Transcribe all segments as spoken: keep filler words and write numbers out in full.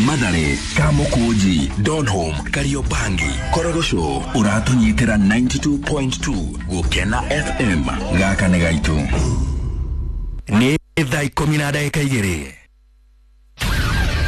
Mathare, Kamukunji, Donholm, Kariobangi, Korogocho ũratũnyitĩra ninety two point two Gũkena F M. Gaka nĩ gaitũ. Nĩ thaa ikũmi na ndagĩka igĩrĩ.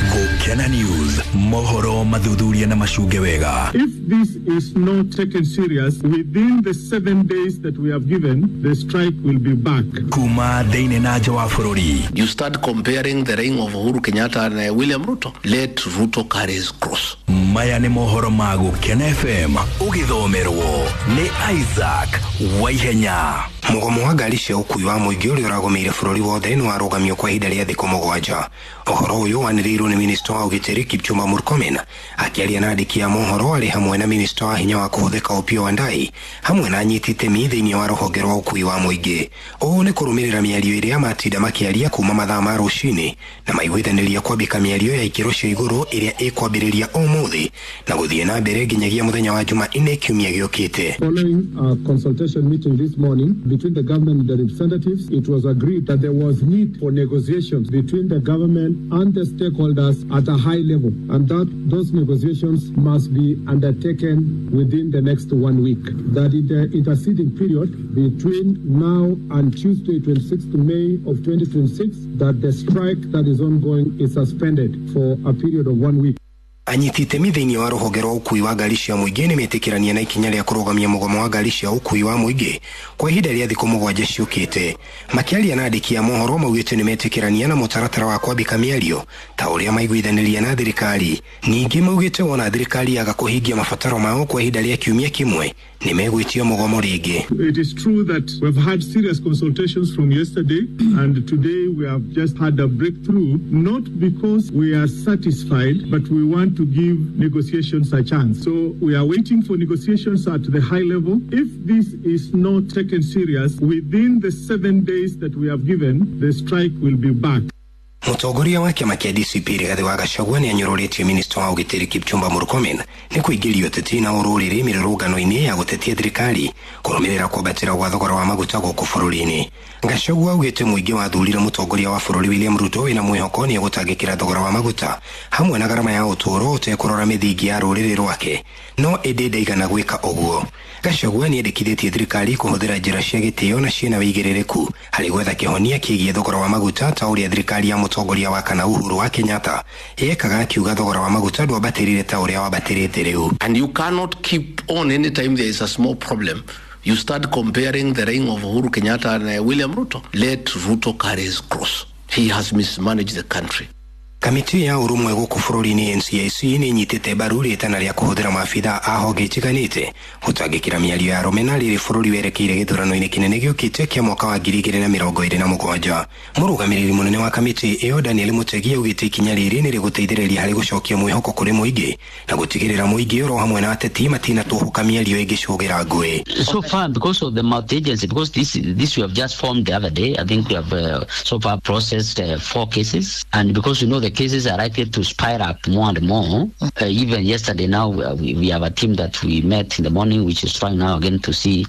Gũkena News, mohoro mathuthuria na macunge wega. If this is not taken serious, within the seven days that we have given, the strike will be back. Kuma thĩinĩ na nja wa bũrũri. You start comparing the reign of Uhuru Kenyatta and, uh, William Ruto. Let Ruto carry his cross. Maya nĩ mohoro ma Gũkena F M, ũgĩthomerwo nĩ Isaac Waihenya. Mũgomo wa ngari cia ũkuui wa mũingĩ ũrĩa ũragũmĩire bũrũri wothe nĩ warũgamio kwa ihinda rĩa thikũ mũgwanja. Ũhoro ũyũ wanĩrĩirwo nĩ minista wa ũgitĩri Kipchumba Murkomen akĩaria na andĩki a mohoro arĩ hamwe na minista wa hinya wa kũhũthĩka Opiyo Wandayi hamwe na anyiti itemi thĩinĩ wa rũhonge rwa ũkuui wa mũingĩ. Ũũ nĩ kũrũmĩrĩra mĩario ĩrĩa matinda makĩaria kuma mathaa ma rũcinĩ na maiguithanĩria kwambĩka mĩario ya ikĩro cia igũrũ ĩrĩa ĩkwambĩrĩria ũmũthĩ na gũthiĩ na mbere nginyagia mũthenya wa Jumanne kiumia gĩũkĩte. Following a consultation meeting this morning between the government and the representatives, it was agreed that there was need for negotiations between the government and the stakeholders at a high level, and that those negotiations must be undertaken within the next one week. That in the interceding period between now and Tuesday, twenty-sixth May of twenty twenty-six, that the strike that is ongoing is suspended for a period of one week. Anyiti itemi thĩinĩ wa rũhonge rwa ũkuui wa ngari cia mũingĩ nĩ metĩkĩrania na ikinya rĩa kũrũgamia mũgomo wa ngari cia ũkuui wa mũingĩ kwa ihinda rĩa thikũ mũgwanja ciũkĩte. Makĩaria na andĩki a mohoro maugĩte nĩ metĩkĩrania na mũtaratara wa kwambĩka mĩario ta ũrĩa maiguithanĩria na thirikari. Ningĩ maugĩte wona thirikari yaga kũhingia mabataro mao kwa ihinda rĩa kiumia kĩmwe nĩ megwĩtio mũgomo rĩngĩ. It is true that we've had serious consultations from yesterday, and today we have just had a breakthrough, not because we are satisfied, but we want to give negotiations a chance. So we are waiting for negotiations at the high level. If this is not taken serious, within the seven days that we have given, the strike will be back. Mũtongoria wa kĩama kĩa D C P Rigathĩ wa Gachagua nĩ anyũrũrĩtie minista wa ũgitĩri Kipchumba Murkomen nĩ kũingĩria ũteti na ũrũrĩrĩ mĩrũrũngano-inĩ ya gũtetia thirikari kũrũmĩrĩra kwambatĩra gwa thogora wa maguta gũkũ bũrũri-inĩ. Gachagua augĩte mũingĩ wathurire mũtongoria wa bũrũri William Ruto wĩna mwĩhoko nĩ egũtangĩkĩra thogora wa maguta hamwe na garama ya ũtũũro ũtekũrora mĩthingi ya rũrĩrĩ rwake, no ĩndĩ ndaigana gwĩka ũguo. Gachagua nĩ endekithĩtie thirikari kũhũthĩra njĩra cia gĩtĩo na ciĩna wĩigĩrĩrĩku harĩ gwetha kĩhonia kĩgiĩ thogora wa maguta ta ũrĩa thirikari ya mũtongoria wa kana Uhuru wa Kenyatta yekaga, akiuga thogora wa maguta ndwambatĩrire ta ũrĩa wambatĩrĩte rĩu. And you cannot keep on anytime there is a small problem. You start comparing the reign of Uhuru Kenyatta and, uh, William Ruto. Let Ruto carry his cross. He has mismanaged the country. Kamĩtĩ ya ũrũmwe gũkũ bũrũri-inĩ N C I C nĩ ĩnyitĩte mbaru rĩtana rĩa kũhũthĩra maabitha a honge itiganĩte gũtangĩkĩra mĩario ya rũmena rĩrĩ bũrũri werekeire gĩthurano-inĩ kĩnene gĩũkĩte kĩa mwaka wa ngiri igĩrĩ na mĩrongo ĩrĩ na mũgwanja. Mũrũgamĩrĩri mũnene wa kamĩtĩ ĩyo Daniel Mutegi augĩte ikinya rĩrĩ nĩ rĩgũteithĩrĩria harĩ gũcokia mwĩhoko kũrĩ mũingĩ na gũtigĩrĩra mũingĩ oro hamwe na ateti matinatũhũka mĩario ĩngĩcũgĩra ngũĩ. So far, because of the multi-agency, because this, this we have just formed the other day, I think we have, uh, so far processed, uh, four cases, and because we know the cases are likely to spire up more and more. Uh, even yesterday now, we, we have a team that we met in the morning, which is trying now again to see.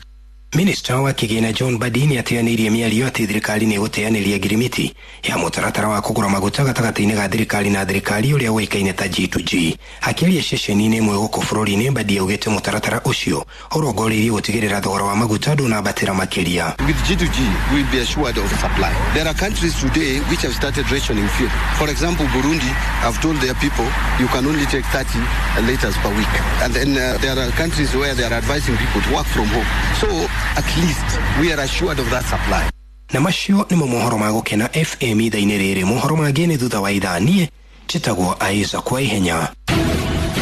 Minista wa kĩgĩna John Mbadi nĩateanĩirie mĩario atĩ thirikari nĩ ĩgũteanĩria ngirimiti ya mũtaratara wa kũgũra maguta gatagatĩ-inĩ ga thirikari na thirikari ũrĩa ũĩkaine ta G to G. Akĩaria ceceni-inĩ ĩmwe gũkũ bũrũri-inĩ, Mbadi augĩte mũtaratara ũcio ũrongoreirie gũtigĩrĩra thogora wa maguta ndũnambatĩra makĩria. With G to G, we will be assured of supply. There are countries today which have started rationing fuel. For example, Burundi have told their people you can only take thirty liters per week. And then, uh, there are countries where they are advising people to work from home. So at least we are assured of that supply. Na macio nĩmo mohoro ma Gũkena F M ithaa-inĩ rĩrĩ. Mohoro mangĩ nĩ thutha wa ithaa. Niĩ njĩtagwo Isaac Waihenya.